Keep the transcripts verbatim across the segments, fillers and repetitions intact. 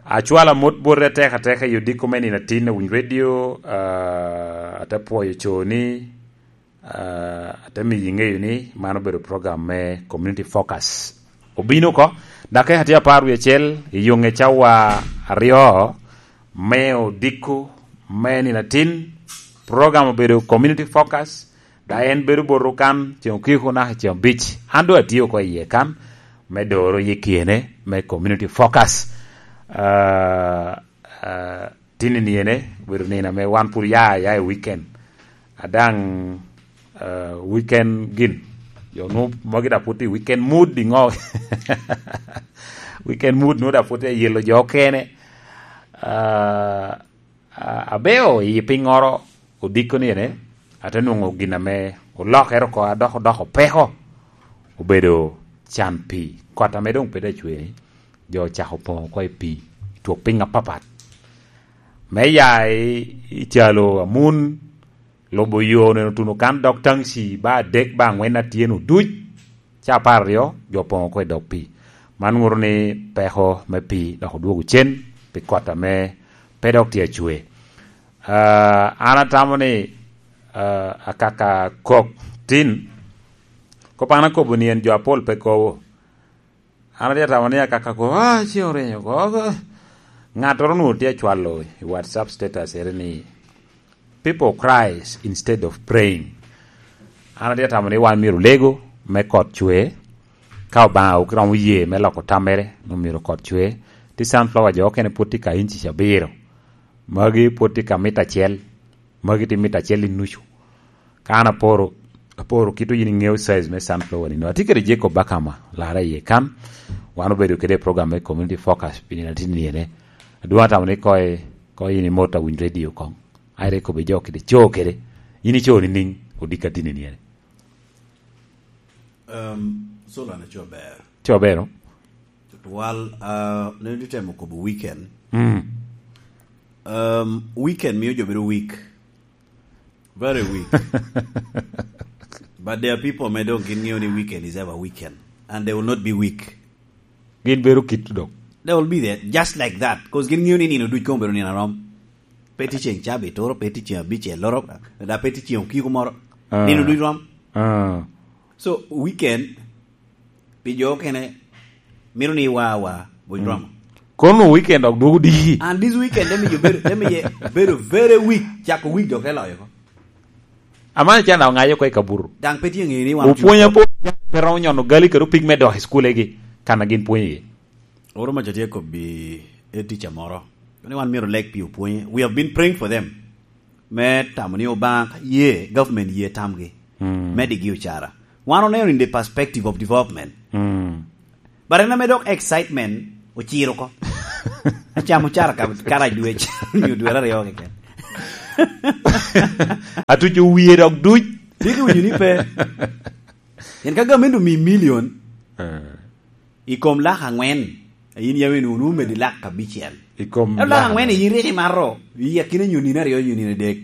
Acwalo amot boti atek ateka i odiko me nino atin a Winy Radio, ah, ate pwoyo co ni, ah, ate miyo iŋeyo ni man obedo program me Community Focus. Obino oko, dakika tye apar wie acel, i yoŋe cawa aryo me odiko me nino atin, program obedo Community Focus, da en bedo botwu kan, ceŋ okiko naka ceŋ abic. An doŋ atye oko iye kan, me doro yikine, me Community Focus. Ah, ah, tin i niene, obedo nino ame wan pwod ya, ya i weekend. A daŋ, ah, weekend gin, jo nu, magi da pwod i weekend mood iŋo? Weekend mood nu da pwod i yelo jo okene. Ah, ah, abeo i piŋŋoro odiko ni ene, ate nwoŋo gin ame olokere oko, a dok odoko peko, obedo can pii. Kot ame doŋ pe da cwe ni, jo ocako poŋo oko i pii, twok piny apapat. Me ya i, i calo Amun, lubo yo neno tuno kan dok taŋci ba adek ba aŋwen atye nu duc, ca apar aryo, jo opoŋo oko i dog pii. Man ŋuto ni peko me pii dok odwogo cen pi kot ame pe dok tye acwe. Ah, an atamo ni, ah, akaka kok tin, kop an akobo ni en jo apol pe kobo. An atye atamo ni akaka kok, ah, ce orinyo oko. Ŋattoro onwoŋo tye acwalo i WhatsApp status ere ni, "People cries instead of praying." An atye atamo ni wan myero olego me kot cwe, ka Obaŋa ok romo ye me loko tammere, omyero kot cwe. Ti sunflower jo okene pwod tye ka inci abiro. Magi pwod tye ka mita acel. Magi tye mita acel i nucu. Ka an aporo, aporo kit yin iŋeo size me sunflower ni. No, atye kede Jacob Bakama, lara iye kan. Wan obedo kede program me Community Focus, pi nino atin niene. Adwoŋ atamo ni koy, koy yin imot a Winy Radio koŋ. Ai, re kobbe jo kede, co kede. Yin ico ni niŋ, odika tin niene. Um, Solon aco ber. Co bero? Tutwal, uh, ne itemo kobo weekend. Mm. Um, weekend miyo jo bedo weak. Very weak. But there are people may don't get new weekend is ever weekend. And they will not be weak. Gin bedo kit dok. They will be there just like that. 'Cause gin new ni nino duc kong bedo nino arom. Pe ti ceng cabi toro, pe ti ceng abic e loro, da pe ti ceng okiko moro. Ah. Nino duc rom. Ah. So, weekend, pi jo okene, mito ni iwa awa, buc romo. Kono weekend ok dwogo diki. And this weekend, let me, you better, let me, better very weak, chako week dok te loyo ko. Amani can daŋ oŋayo oko i kaburu. Daŋ pe tye ŋeyo ni wan opwony apo, pe romo nyono gali kede opig me dok i school egi, kan a gin pwonyo iye. Oro maca tye kobbi e teacher moro. Ni wan myero leg pi opwonye. We have been praying for them. Me tamo ni Obaŋa ye, government ye tamgi. Mm. Me digi ocara. Wan oneno in the perspective of development. Mm. But en ame dok excitement ociro oko. Acamo cara ka, karac dwec, nyo dwe aryo keken. Atuco wie dok duc. Tye ki winyo ni pe. En ka gamente omi million, eh, i kom lak aŋwen, a yin yam enu, nu medi lak abicel. I kom lak aŋwen, yin rik imato, i akina nyo nino aryo, nyo nino adek.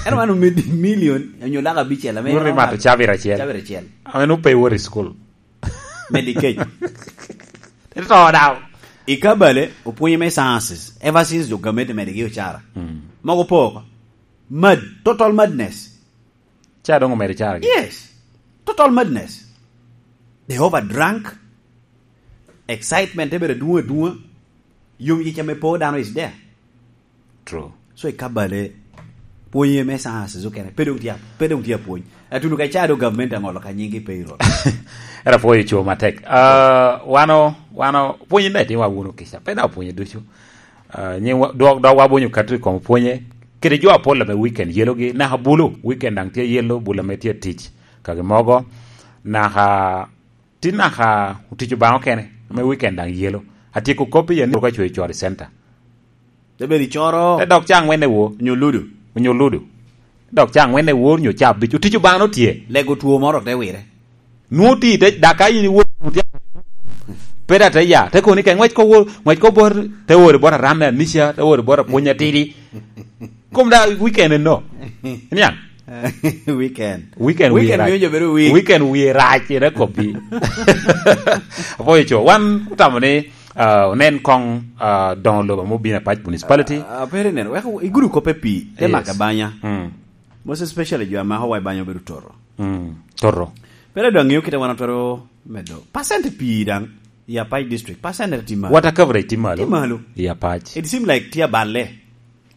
Ento man omedi million, nyo lak abicel, ame wot imato cabit acel. Cabit acel. Ame nu pe iwot i school. Medi kec. Ito daw. I Kabale, opwonye me sciences, ever since jo gamente medigi ocara. Mm. Mogo po oko. Mad, total madness. Ca doŋ omedo caragi. Yes. Total madness. They overdrank. Excitement te bedo adwoŋ adwoŋa. Yom yic ame po dano is there. True. So i Kabale, pwonye me sciences okene, pe doŋ tye, pe doŋ tye apwony. Atuno ka ca do government aŋolo ka nyingi payroll. Era pwoyo co matek. Ah, wano, wano, pwonye ne tye wa wuno kica. Pe da pwonye ducu. Ah, nyi wa, dwok, dok wabonyo kato i kom pwonye. Kede jo apol ame weekend yelogi, naka bulu, weekend daŋ tye yelo, bulu ame tye tic. Kagi mogo, naka, tin naka otic Obaŋa okene, ame weekend daŋ yelo. Atyeko kop i Yanuru ka cwe coro i center. Te bedo i coro. Te dok ca aŋwen e wor. Onyo ludo. Onyo ludo. Dok ca aŋwen e wor, nyo ca abic. Otic Obaŋa no tye. Lego two moro te wire. Nwoŋo ti te, daka yin iwor, pe da te ya, te koni ke ŋwec ko wor, ŋwec ko bor, te wor bot aram me anica, te wor bot apwony atidi. Kom da weekend no. Niaŋ? Weekend. Weekend Weekend wiye rac. Miyo jo bedo weak. Weekend wiye rac, ira koppi. Apoyo co, wan otamo ni, Ah, onen koŋ, ah, doŋo lobo ame obino Apac Municipality. Ah, ah, pere nen, wek igudo kop i pii, te Yes. mako abanya. Mm. Most especially jo a mako wa i banya obedo toto. Mm, toto. Pere dong ŋeo kite wan otwero medo. Percent pii daŋ i Apac District, percent tye malo. Water coverage tye malo. Tye malo. I Apac. It seem like tye aballe.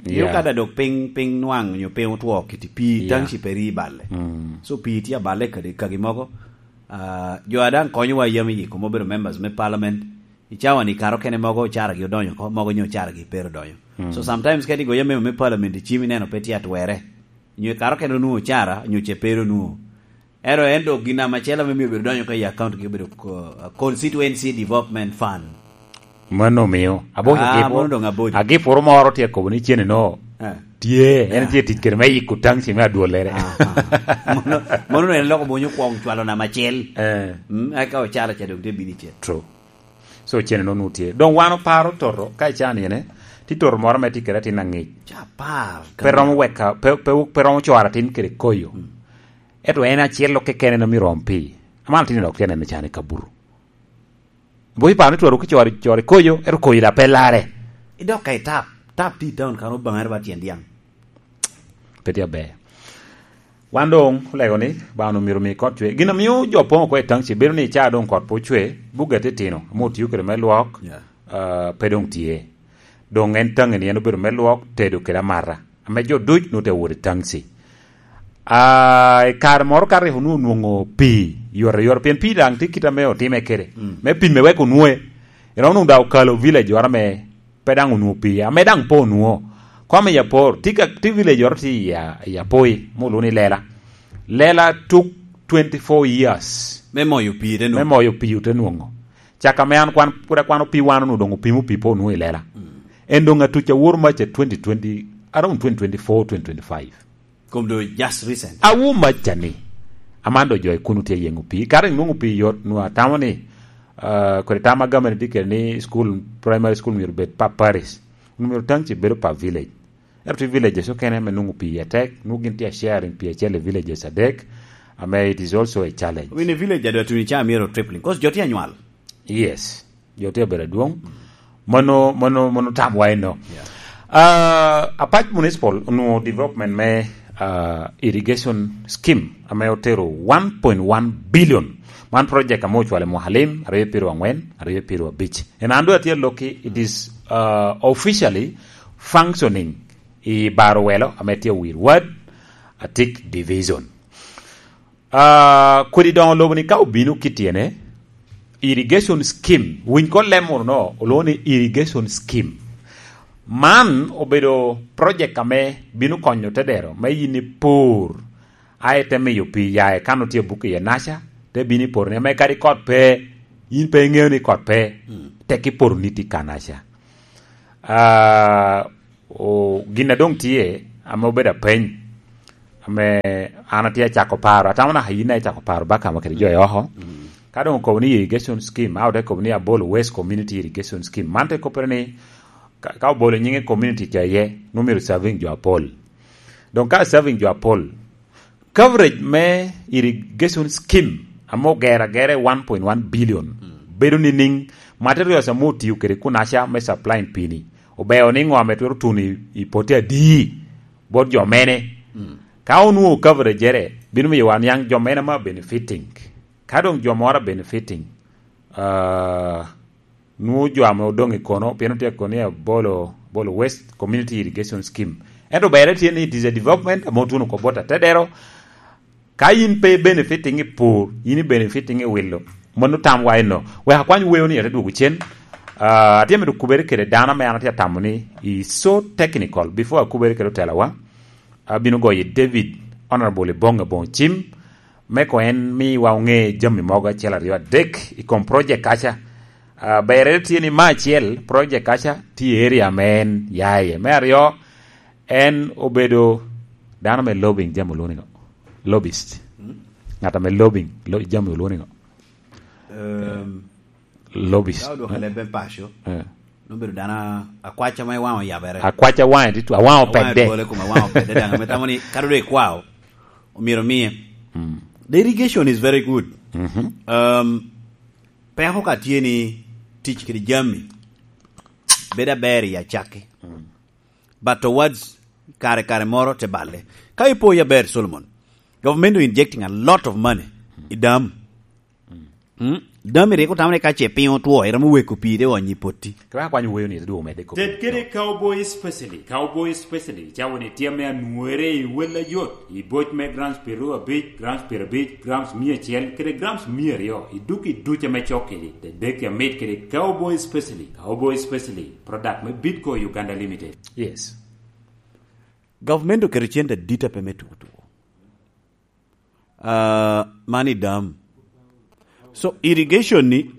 Nyo Yeah. ka da dok piny, piny nwaŋ nyo piny otwo kiti pii Yeah. township eri i balle. Mm. So pii tye aballe kadi kagi mogo. Ah, jo a daŋ konyowa yam i yiko ma obedo members me parliament, i cawa ni karo kene mogo ocara gi odonyo oko, mogo nyo ocara gi pe ero donyo. Mm. So sometimes kadi goyo memo me parliament i cim ineno pe tye atwere. Nyo i karo kene onwoŋo ocara, nyo ce pe ero onwoŋo. Ero en dok gin ame acel ame mio obedo donyo ka i account gi obedo ko-, Constituency Development Fund. Mano omio. Aboco Ah, agiporo. mano doŋ aboco. Agiporo moro tye akobo ni cene no. Eh. Tye, en Yeah. tye tic kede me yiko township me adwolere. Aha. Mano, mano en loko bonyo kwong cwalo namba acel. Eh. Mm, eka ocalo ca dok tye bino icel. True. So cene no nu tye. Doŋ wan oparo toto, ka ican yene, ti toto moro me tye kede atin aŋic. Ca apar. Pe romo weka, pe, pe, pe romo cwara atin kede koyo. Mm. Ento en acel keken en omiro om pi. Aman atin dok tye neno can i kaburu. Bo iparo ni twero ki cwari, cwari koyo, ero koyo da pe lare. Idok ka i tap, tap ti i town kan Obaŋa ero ba tyen dyaŋ. Pe tye aber. Wan doŋ olego ni, Obaŋa omiro mi kot cwe. Gin omio jo poŋ oko i township bedo ni ca doŋ kot pe ocwe, buga titino, ame otio kede me lwok, Yeah. ah, pe doŋ tye. Doŋ en taŋi ni en obedo me lwok, tedo kede amata. Ame jo duc nwoŋo te wot i taŋci. Ah, i kare moro ka rik onwoŋo onwoŋo pii yot ayot, pien pii daŋ tye kit ame otime kede. Mm. Me pime wek onwoŋe. Iromo nwoŋo daŋ okalo village oro ame pe daŋ onwoŋo pii, ame daŋ pe onwoŋo. Kom i Apor, tye ka, tye village oro tye i A-, i Apoi, ma olwoŋo ni Lela. Lela took twenty-four years. Me moyo pii te nwoŋo. Me moyo pii te nwoŋo. Caka ame an kwan, pwod akwano pii wan onwoŋo doŋ opimo pii pe onwoŋo i Lela. Mm. En doŋ atuc awor mac a twenty twenty, around twenty twenty-four, twenty twenty-five. Kom do just recent. Awo mac a ni, aman do jo i kuno tye yeŋo pii. Kara inwoŋo pii yot, nwoŋo atamo ni, ah, kodi tam a gamente tye kede ni school, primary school myero bed pa parish. Myero township bedo pa village. Ento tye villages okene ame nwoŋo pii atek, nwoŋo gin tye a sharing pii acel i villages adek, ame it is also a challenge. I mean, a village adwa tuni ca myero tripling, 'cause jo tye anywal. Yes. Jo tye abedo adwoŋ. Mano, mano, mano tamwa eno. Yeah. Ah, Apac Municipal onwoŋo development me, ah, irrigation scheme ame otero one point one billion. Man project ame ocwalo i mwaka lim, aryo pyeraryo angwen, aryo pyeraryo abic. En an doŋ atye alokki, it is, ah, officially functioning i Barowelo ame tye Owir Ward, Atik Division. Ah, kodi doŋo lobo ni ka obino kit tyene, irrigation scheme, winy ko lem moro no, olwoŋo ni irrigation scheme. Man obedo project ame bino konyo tedero, me yin ipur, aye te miyo pii ya i kan otye abuk iye naca, te bino iporo ni, ame kadi kot pe, yin pe iŋeo ni kot pe, Mm. tek iporo ni tye kanaca. Ah, O, gin a doŋ tye, ame obedo apeny, ame an atye acako paro, atamo naka yin aye icako paro baka ma kede jo i oko. Mm. Ka doŋ okobo ni irrigation scheme, a ote kobo ni Abolo West Community Irrigation Scheme. Man te koppere ni, ka, ka obolo nyiŋe community ca iye, nwoŋo myero serving jo apol. Doŋ ka serving jo apol, coverage me irrigation scheme ame ogero agera i one point one billion, Mm. bedo nining? Materials ame otio kede kunaca me supplying pii-ni, obeo ni ŋo ame twero tuno i, i pote adi bot jo mene? Mm. Ka onwoŋo coverage-ere, bino miyo wan niaŋ jo mene ame are benefiting. Ka doŋ jo moro are benefiting, ah, nwoŋo jo ame odoŋ i kono, pien otye i kono i Abolo, Abolo West Community Irrigation Scheme. Ento berre tye ni it is a development ame otuno oko bot atedero. Ka yin pe ibenefiting i pur, yin ibenefiting i wilo. Mano tamwa eno. Wek akwany weo ni ate dwogo cen. Ah, atye mito kubere kede dano ame an atye atamo ni is so technical before akubere kede otelawa. Abino goyo David Honorable Ibonge Boŋo Cim, me koŋ en miwa oŋe jami mogo acel aryo adek i kom project kaca. Ah, berre tye ni me acel, project kaca tye i area ame en ya iye. Me aryo, en obedo dano ame lobbying jami olwoŋo ni ŋo? Lobbyist. Mm. Ŋat ame lobbying, lo-, jami olwoŋo ni ŋo? Ehm, Lobbyist. Ka odwoko leb me paco, Eh. nobedo dano a-, akwac ame waŋe oyabere. Akwac a waŋe tye tw-, a waŋe Awaŋe opedde. Bole kome, awaŋe opedde daŋ. Ame tamo ni, kadi dong ikwao, omyero omiye. Mm. The irrigation is very good. Mhm. Um, peko ka tye ni, tic kede jami, bedo aber i acakki. But towards kare, kare moro te balle. Ka ipo ya ber, Solomon, government are injecting a lot of money i dam. Mm? Dam iri ko tamre ka ce piny otwo, iromo weko pii de onyi potti. Kaka kwany wuoyo ni, dwogo medde kop. Ted kede cowboy specially, cowboy specially, cawa ni tye ame anwere i wel ayot, i boc me grams piero abic, grams piero abic, grams mia acel, kede grams mia aryo, i duk i duc ame cok kede, dedek amit kede cowboy specially, cowboy specially, product me Bitco Uganda Limited. Yes. Government oketo cente adit ape me tuko tuko. Ah, man i dam. So, irrigation ni,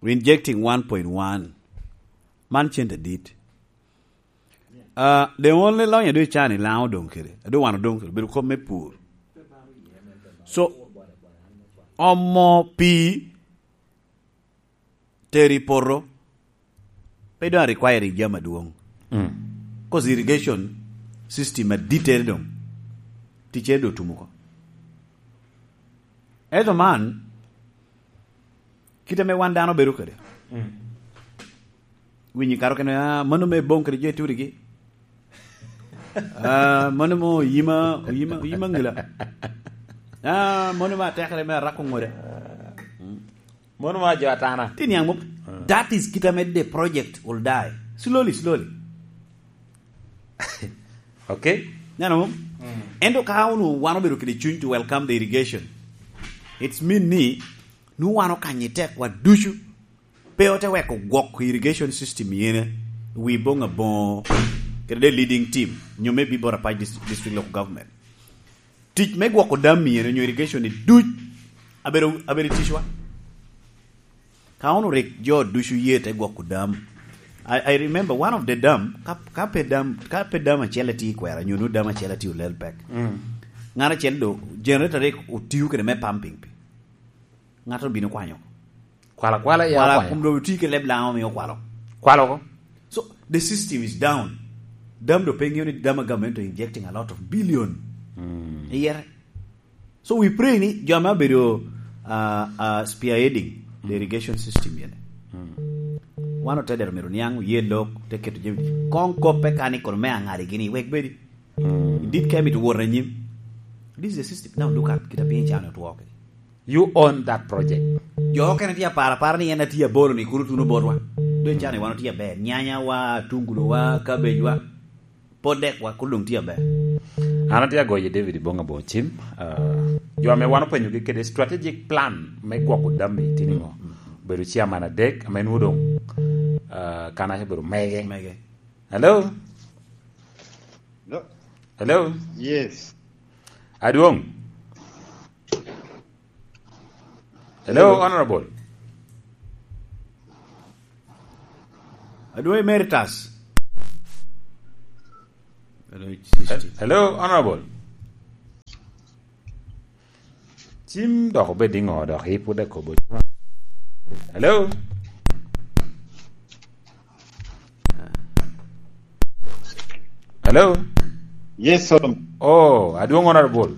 we injecting one point one. Man cente adit. Ah, the only lonyo ado icani Laŋo odong kede. Ado wan odong kede. Bedo kop me pur. So, omo pii tero i poto, pe doŋ requiring jami adwoŋ. Mm. 'Cause irrigation system adittere doŋ, ticcere doŋ otum oko. Ento man, kit ame wan dano bedo kede. Mm. Winyi karo kene, "Ah, mano me boŋ kede jo i turigi." "Ah, mano mo oyima, oyima, oyima ngila." "Ah, mano me atekere me arako ŋoda." Mono ma jo atana. Ti niaŋ mom, that is kit ame the project will die. Slowly, slowly. Okay. Neno mom? Ento ka unu wan obedo kede cuny to welcome the irrigation, it's mean ni nu wan okanye tekwa ducu, pe ote weko gwok irrigation system yene, wi boŋ aboŋo, kede the leading team, nyo maybe Bor Apac Dis-, District Local Government. Tic me gwoko dam myero onyo irrigation ni duc abedo, abedo i ticwa. Ka wun orik jo ducu ye te gwoko dam. I, I remember one of the dam, ka, ka pe dam, ka pe dam acel etye i kwera, nyo nu dam acel etye olel pek. Mm. Ŋat acel do, generator rik otiyo kede me pumping pi. Ŋat obino kwanyo. Kwala, kwala, ya, kwala, kwala. Kum do ti ke leb Laŋo mi okwalo. Kwalo ko. So, the system is down. Dam do pe ŋeo ni dam a government are injecting a lot of billion. Mm. Iyere. So, we pray ni jo ame abedo, uh, uh, spearheading the irrigation system yene. Mm. Wan otedero mero niaŋ, oye lok, te keto jami. Koŋ koppe ka ni kono me aŋadi gini, wek bedi. Mm. Dit ka emito wot anyim. This is a system. Now look at, kita piny can otwo kede. You own that project. Jo okene tye aparo apara ni en atye abolo ni kuru tuno botwa. Dong cani wan otye aber. Nyanya wa, tungulu wa, cabbage wa. Pot dek wa, kulu dong tye aber. An atye agoyo David Bonga Bocim. Uh, jo ame wan openyogi kede strategic plan me gwoko dam i tini ŋo? Obedo chairman adek, ame nwo dong, uh, kan aca obedo mege. Mege. Hello? Hello? Hello? Yes. Adwong? Hello, hello. Honorable? Adwong Emeritus? Hello, hello, Honorable? Cim dok obed i ŋo dok i pwod akobo? Hello? Hello? Yes, Solomon. Oh, Adwong Honorable.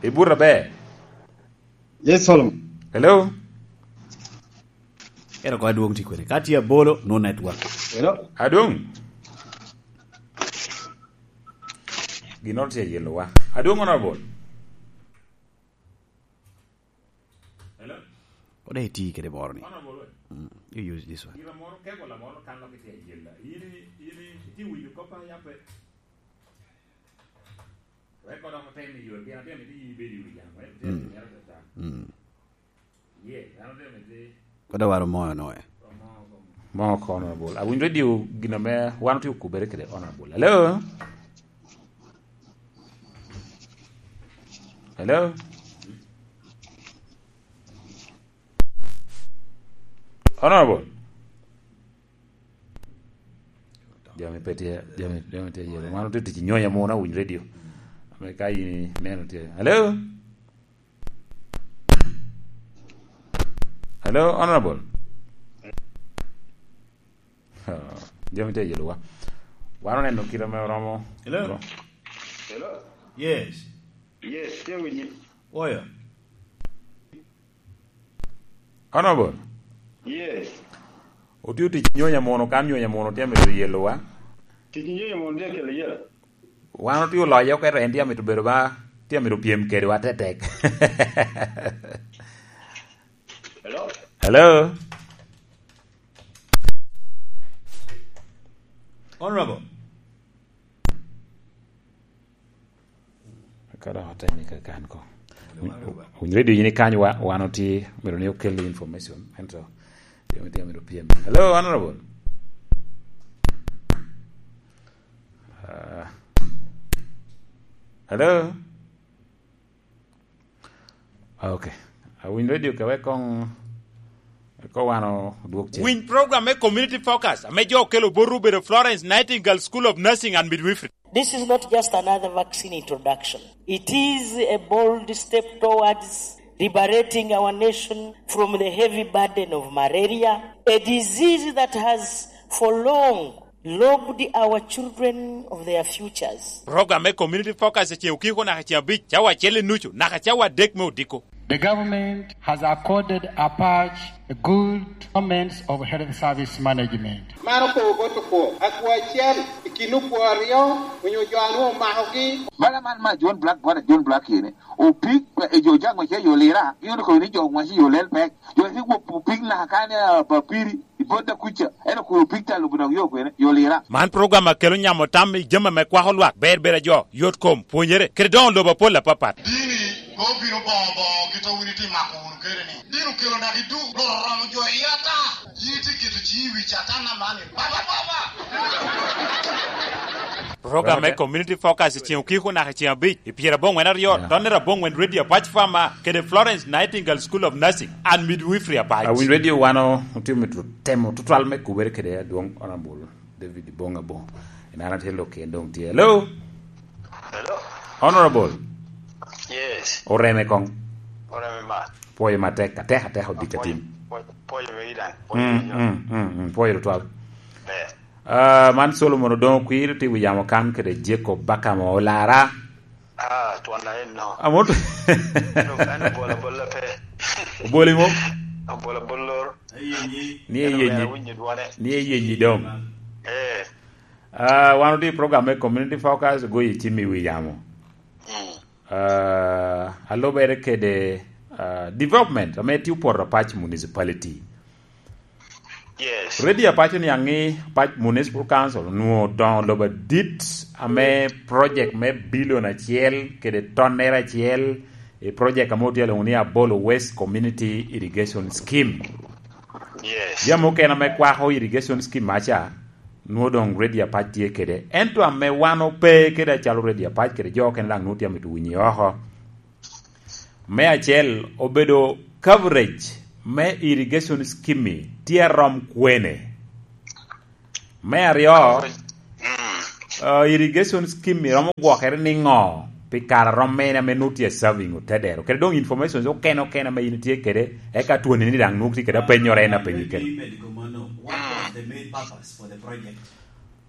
Ibut aber? Yes, Solomon. Hello? Ero ko Adwong ti kwene. Ka tye abolo, no network. Hello? Adwong? Ginnoro tye ayelowa. Adwong Honorable. Hello? Kode iti kede moro ni. Honorable, we? Mm, you use this one. Gira moro, kego la moro kan lo kiti ayela. Yini, yini, iti winyo kopa yape. Record of ten million, bien, bien, iti yi bedi wi jam, eh? Mm. Ten million, eh? Mm. Kodi awaro moyo noe. Mo kono bol. Awinjo radio gin ame wan otye okubere kede Honorable. Hello? Hello? Honorable? Jami pe tye, jami, jami tye yelo. Wan otye tic i nyonya mono awinyo radio. Ame ka in ineno tye. Hello? Hello, Honorable? Oh, jami tye yelowa. Wan oneno kit ame oromo. Hello? Ro- Hello? Yes. Yes, tye winyi. Oya. Honorable. Yes. Otio tic nyonya mono, kan nyonya mono tye amito yelowa. Tic nyonya mono tye kelo yel. Wan otio loyo, ento en tye amito bedo ba, tye amito pyem kedwa tetek. Hello? Hello? Honorable. Ka dok atemi ka kan ko. Winy radio yini kany wa, wan oti, myero ni okel information. Ento, tye amito, tye amito pyem. Hello, Honorable. Ah. Hello? Ah, okay. Awiny radio ka wek kong, ko wan odwok cen. Winy program me Community Focus, ame jo okelo botwu obedo Florence Nightingale School of Nursing and Midwifery. This is not just another vaccine introduction. It is a bold step towards liberating our nation from the heavy burden of malaria, a disease that has for long robbed our children of their futures. Program me Community Focus eceŋ okiko naka ceŋ abic, cawa acel i nucu, naka cawa adek me odiko. The government has accorded APACH a good performance of health service management. Man okobo bot okwo, akwo acel i kin okwo aryo, onyo jo a nwoŋo omakogi. Bala man ma John Black, bot a John Black yene, opik, e jo jaŋ wace yo lira, gin okobo ni jo wace yo lel pek, jo wace wo opik naka kan, ah, papiri, i bot da kuca, en okobo opik ta lubo dok yo kwene, yo lira. Man program a kelo nyamo tam i jami ame kwako lwak, ber ber a jo, yot kom, pwonyere, kede doŋo lobo apol apapat. Dini, mom bino boŋo boŋo kit a wun itye mako wunu kede ni. Dini okelo naka i duk, Rwot oromo jo i ata. Yin itye keto ciŋi i wi Catan aman ni, "Baba, Baba!" Program me Community Focus i ceŋ okiko naka i ceŋ abic, i pyerabongwen aryo, Yeah. Tonnere abongwen Radio Apac Farmer, kede Florence Nightingale School of Nursing and Midwifery Apac. Awiny Radio wan o-, otimo tu-, temo tutwal me kubere kede adwoŋ Honorable David Ibong Abong. En an atye lok en doŋ tye. Hello? Hello? Honorable? Yes. Oreme koŋ. Oreme mat. Pwoyo matek, atek, atek odit atim. Pwoyo, pwoyo, pwoyo me idaŋ. Pwoyo Mm, me idaŋ. mm, mm, mm, pwoyo tutwal. Ber. Ah, man Solomon Odongo Kwir, tye wi yamo kan kede Jacob Bakamo Olara. Ah, twon na en no. Amot. An obola bola pe. Oboli mo? Obola bolor. Ni Eno eyenyi. Ber awinyo dwone. Ni eyenyi dong. Eh. Ah, wan otye i program me Community Focus, goyo cim i wi yamo. Mm. Ah, alubere kede, ah, development, ame tye Opoto Apac Municipality. Yes. Radio Apac oniaŋ ni Apac Municipal Council onwoŋo odoŋo lobo adit ame project me billion acel kede tonnere acel i project ame otye alwoŋo ni Abolo West Community Irrigation Scheme. Yes. Jami okene ame kwako irrigation scheme aca, nwoŋo doŋ Radio Apac tye kede. Ento ame wan ope kede acalo Radio Apac kede jo okene daŋ nwoŋo tye amito winyi oko. Me acel, obedo coverage me irrigation scheme tye arom kwene? Me aryo, Mm. ah, irrigation scheme romo gwokere niŋo pi kare a rom mene ame nwoŋo tye serving otedero? Kede doŋ information okene okene ame in itye kede, eka twoni ni daŋ nwoŋo tye kede apennyoro en apenyi kede. What was the main purpose for the project?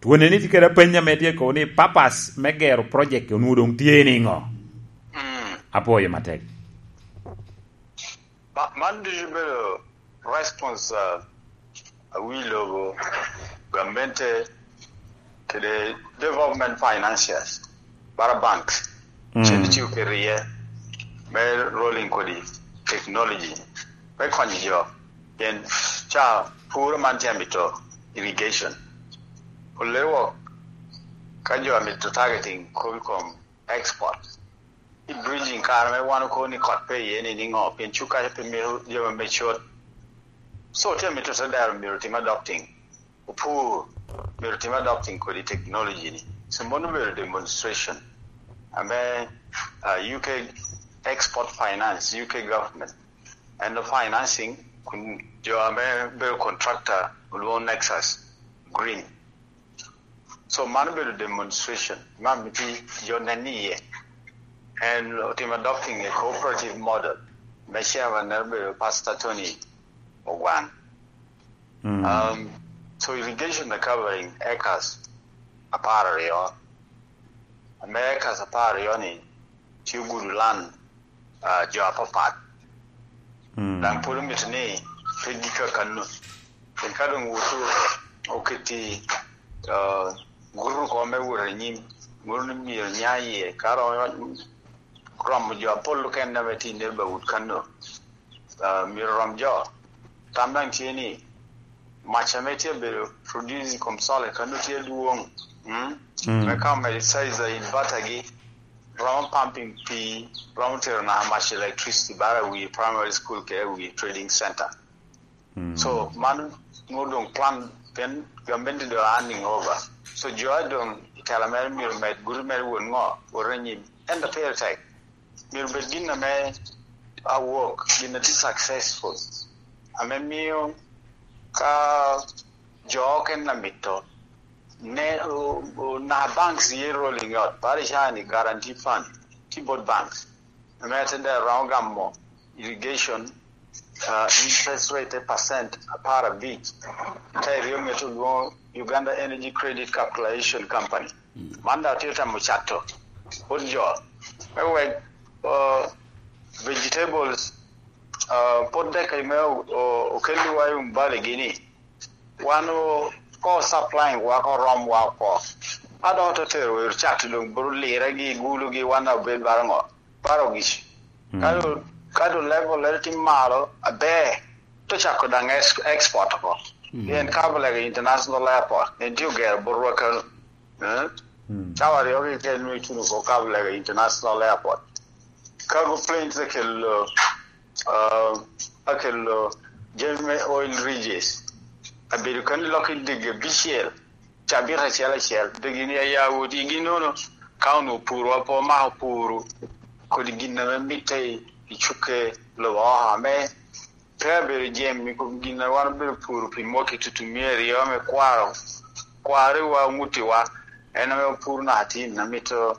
Twoni ni tye kede apeny ame tye kobo ni purpose me gero project onwoŋo doŋ tye niŋo? Mm. Apwoyo matek. Ma-, man ducu bedo response, uh, a wi lobo, gamente, kede development financiers, bara banks, Mm. cen iciko kede iye me rolling kodi technology, me konyo jo. Pien ca puro man tye amito irrigation. Olero wok ka jo amito targeting kop i kom export. I bridging kare me wan okobo ni kot pe iye ni niŋo, pien cuk kaca pe mito jami me cot. So, tye amito te dero myero otim adopting. Opur myero otim adopting kodi technology ni. So, mano obedo demonstration. Ame, uh, U K Export Finance, U K government, and the financing, kun jo ame bedo contractor, olwoŋo Nexus Green. So, mano obedo demonstration. Man miti jo nen iye. And otim adopting a cooperative model. Me chairman ne obedo Pastor Tony Ogwan. Mm. Um, so irrigation na covering acres apar aryo. Ame acres apar aryo ni, tye ogudo land, ah, jo apapat. Mm. Daŋ pwod omito ni pe gika kanno. Pien ka doŋ wuto oketi, ah, guto oko me wot anyim, moro ni myero nya iye, ka romo, romo jo apol okene ame tye i neighborhood kanno, ah, myero rom jo. Tam daŋ tye ni, mac ame tye abedo produce i kom solar kanno tye adwoŋ. Mm? Mm. Me ka omedo size a inverter-gi, romo pumping pii, romo tero naka mac electricity bara wi primary school kede wi trading center. Mm. So, man nwoŋo doŋ plan, pien gamente doŋ running over. So, jo a doŋ i tela mere myero med guti mere wot ŋo, wot anyim. Ento pire tek. Myero bed gin ame awok, gin a tye successful, ame mio ka jo okene amito, ne, o, o, na banks ye rolling out, bade cani guarantee fund, tye bot banks, ame te dero romo gamo irrigation, ah, interest rate te percent apar abic, ka iryo ŋete olwoŋo Uganda Energy Credit Capitalization Company. Mm. Man daŋ tye temo cato bot jo, me wek, ah, vegetables, ah, pot dek me o, o, okelliwa i Umbali gini, wan o, ko supplying wa, ko rom wa oko. A dok ote tero ero cat doŋ bro lire gi gulo gi wan obed baro ŋo? Baro gic. Mm. Ka do, ka do level ero tye malo, aber, to cako daŋ ex-, export oko. Mm. Pien Kabalega International Airport, en tye ogero botwa kano. Eh? Mm. Cawa aryo keken nwe ituno oko Kabalega International Airport. Cargo planes akelo, uh, akelo jami me oil rigs. Abedo kani lok i dege abicel, cabit acel acel. Degi ni aya wot igi nono, ka onwo puro apo mako puro, kodi gin ame mitte i, i cukke lobo oko ame pe abedo jem i kom gin a wan obedo puro pi mwaki tutumia aryo ame kwaro, kwariwa, omutiwa, en ame opuro naka tin, amito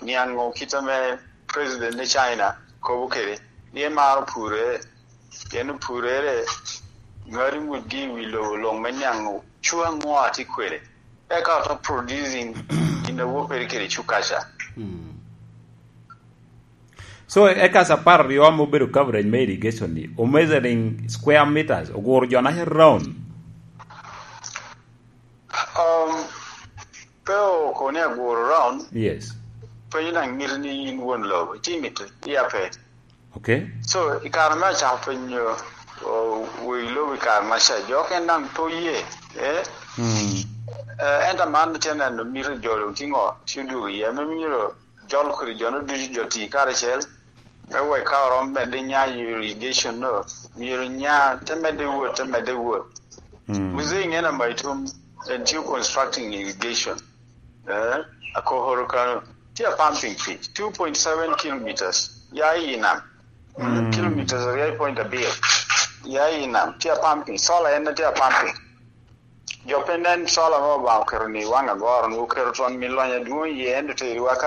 niaŋ ŋo kit ame President me China kobo kede, ni emaro purere, pien opurere, ŋadi ŋutgi i wi lobo luŋ me niaŋ ŋo, cu aŋo a tye kwede, eka oto producing gin a wokere kede cukaca. Mm. So, acres apar aryo ame obedo coverage me irrigation ni, o measuring square meters, oguro jo naca round. Um, pe okoni aguro round. Yes. Penyo daŋ mito ni in won lobo, ci mito, iya pe. Okay. So, i kare me acako penyo, o, wegi lobo i kare maca, jo okene daŋ pe oye, eh? Mm. Eh, ento man tye neno mito jo doŋ tye ŋo, tye odwogo iye, ame myero jol kodi jo-nu ducu, jo ti karacel, me wek ka oromo medde nya i irrigation-nu, myero nya te medde wot, te medde wot. Mm. Mzee Ngena Maitum, en tye constructing irrigation. Eh, akokoro kano, tye a pumping pi two point seven kilometers, ya i nam. Mm. Kilometers aryo point abiro, ya i nam, tye a pumping. Solar en tye a pumping. Jo pe nen solar ma Obaŋa oketo ni waŋ agoro, ni oketo twon mi lony adwoŋ iye, ento teriwa ka